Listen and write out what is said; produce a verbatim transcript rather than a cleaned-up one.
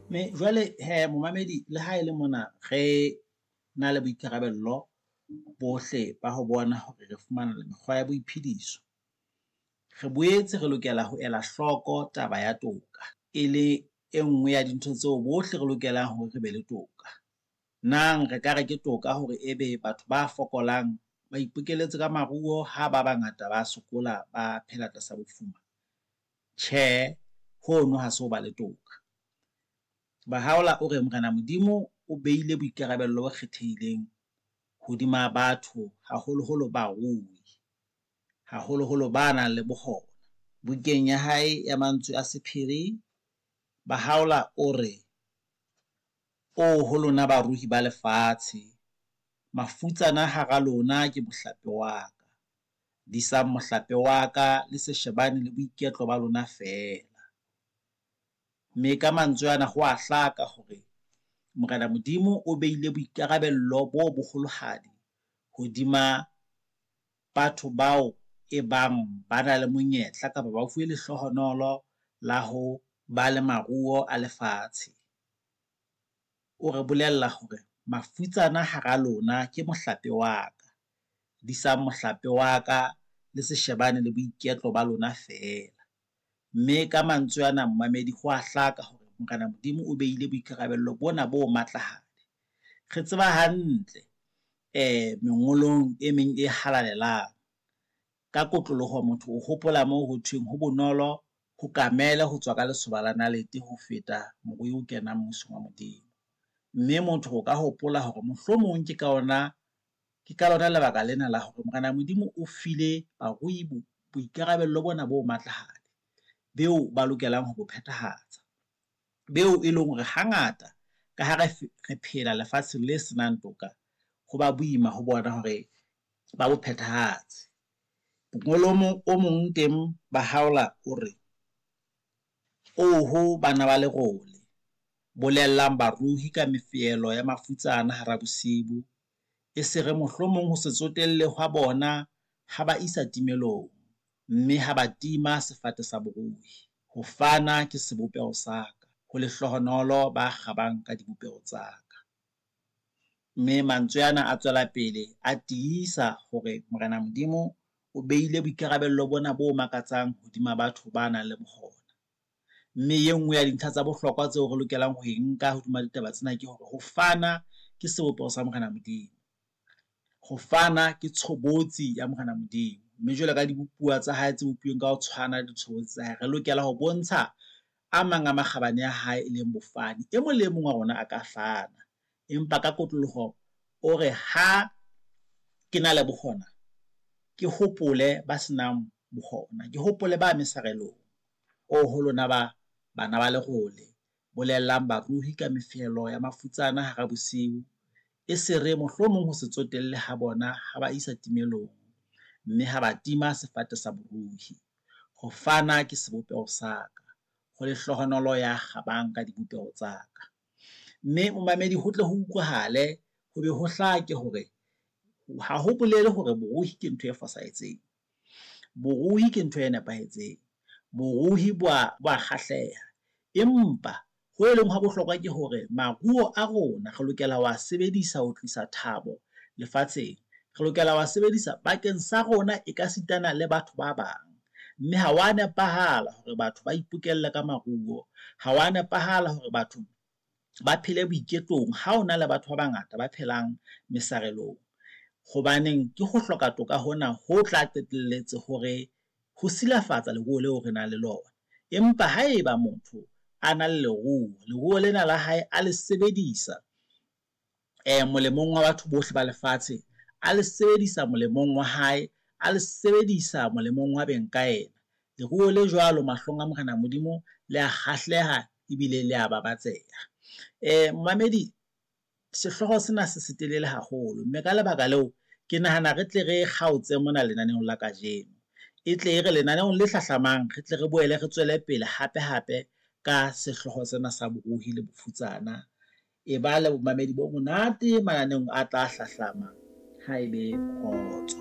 Mme jwale hee momamedi le ha e le mona re na le boikarabello bohle ba ho bona hore re fumana mekgwa ya boiphediso. Re boetse re lokela ho ela hloko taba ya toka, e le e nngwe ya dintho tseo bohle re lokelang hore re be le toka. Nang re ka re ke toka hore ebe batho ba fokolang ba ipokelletsa ka maruo ha ba bangata ba sokola, ba phela tlasa bofuma? Tjhe, hono ha se ho ba le toka. Bahaola o re Morena Modimo o beile boikarabello bo kgethehileng hodima batho, haholoholo barui, haholoholo ba nang le bokgona. Bukeng ya hae ya mantswe a sephiri, Bahaola o re, "Oho lona barui ba lefatshe, mafutsana hara lona ke mohlape wa ka, disang mohlape wa ka le se shebane le boiketlo ba lona feela." Mme ka mantswe ana ho a hlaka hore Morena Modimo o beile boikarabello bo boholohadi hodima batho bao e bang ba na le monyetla kapa ba fuwe lehlohonolo la ho ba le maruo a lefatshe. O re bolella hore mafutsana hara lona ke mohlape wa ka, disang mohlape wa ka le se shebane le boiketlo ba lona feela. Mme ka mantswe ana momamedi ho wa hlaka hore Morena Modimo o beile boikarabello bona bo matlahadi. Re tseba hantle mengolong e meng e halalelang ka kotloloho motho o hopola moo ho thweng ho bonolo ho kamele ho tswa ka lesoba la nalete ho feta morui ho kena mmusong wa Modimo. Mme motho o ka hopola hore mohlomong ke ka ona ke ka lona lebaka lena la hore Morena Modimo o file barui boikarabello bona bo matlahadi beo ba lokelang ho bo phethahatsa. Beo e leng hore hangata ka ha re re phela lefatsheng le senang toka, ho ba boima ho bona hore ba bo phethahatse. O mong teng Bahaola o re, "Oho bana ba lerole, bolellang barui ka mefehelo ya mafutsana hara bosibu, e se re mohlomong ho se tsotelle hwa bona ha ba isa timelong, mme ha ba tima sefate sa borui. Ho fana ke sebopeho sa ka, ho lehlohonolo ba kgabang ka dibopeho tsa ka." Mme mantswe ana a tswela pele a tiisa hore Morena Modimo o beile boikarabello bona bo makatsang hodima batho ba nang le bokgona. Mme e nngwe ya dintlha tsa bohlokwa tseo re lokelang ho e nka hodima ditaba tsena ke hore ho fana ke sebopeho sa Morena Modimo, ho fana ke tshobotsi ya Morena Modimo. Mme jwalo ka dibopuwa tsa hae tse bopilweng ka ho tshwana le ditshobotsi tsa hae, re lokela ho bontsha a mang a makgabane a hae e leng bofani. E mong le e mong wa rona a ka fana, empa ka kotloloho o re ha ke na le bokgona, ke hopole ba senang bokgona, ke hopole ba mesarelong. Oho lona ba bana ba lerole, bolellang barui ka mefehelo ya mafutsana hara bosiu, e se re mohlomong ho se tsotelle ha bona ha ba isa timelong, mme ha ba tima sefate sa borui. Ho fana ke sebopeho sa ka, ho lehlohonolo ya kgabang ka dibopeho tsa ka. Mme momamedi ho tle ho utlwahale ho be ho hlake hore ha ho bolele hore borui ke ntho e fosahetseng. Borui ke ntho e nepahetseng, borui bo a bo a kgahleha, empa ho e leng hwa bohlokwa ke hore maruo a rona re lokela ho a sebedisa ho tlisa thabo lefatsheng. Re lokela ho sebedisa bakeng sa rona ekasitana le batho ba bang. Mme ha wa nepahala hore batho ba ipokelle ka maruo, ha wa nepahala hore batho ba phele boiketlong ha hona le batho ba bangata ba phelang mesarelong. Hobaneng ke ho hloka toka hona ho tla qetelletse hore ho silafatsa leruo leo re nang le lona. Empa haeba motho a na le leruo, leruo lena la hae a le sebedisa molemong wa batho bohle ba lefatshe, a le sebedisa molemong wa hae, a le sebedisa molemong wa beng ka ena. Leruo le jwalo mahlong a Morena Modimo le a kgahleha ebile le a babatseha. Momamedi sehlooho sena se se telele haholo, mme ka lebaka leo, ke nahana re tle re kgaotse mona lenaneong la kajeno. E tle e re lenaneong le hlahlamang, re tle re boele re tswele pele hape hape ka sehlooho sena sa borui le bofutsana. E ba le bomamedi bo monate mananeong a tla hlahlama. Ha ebe kgotso.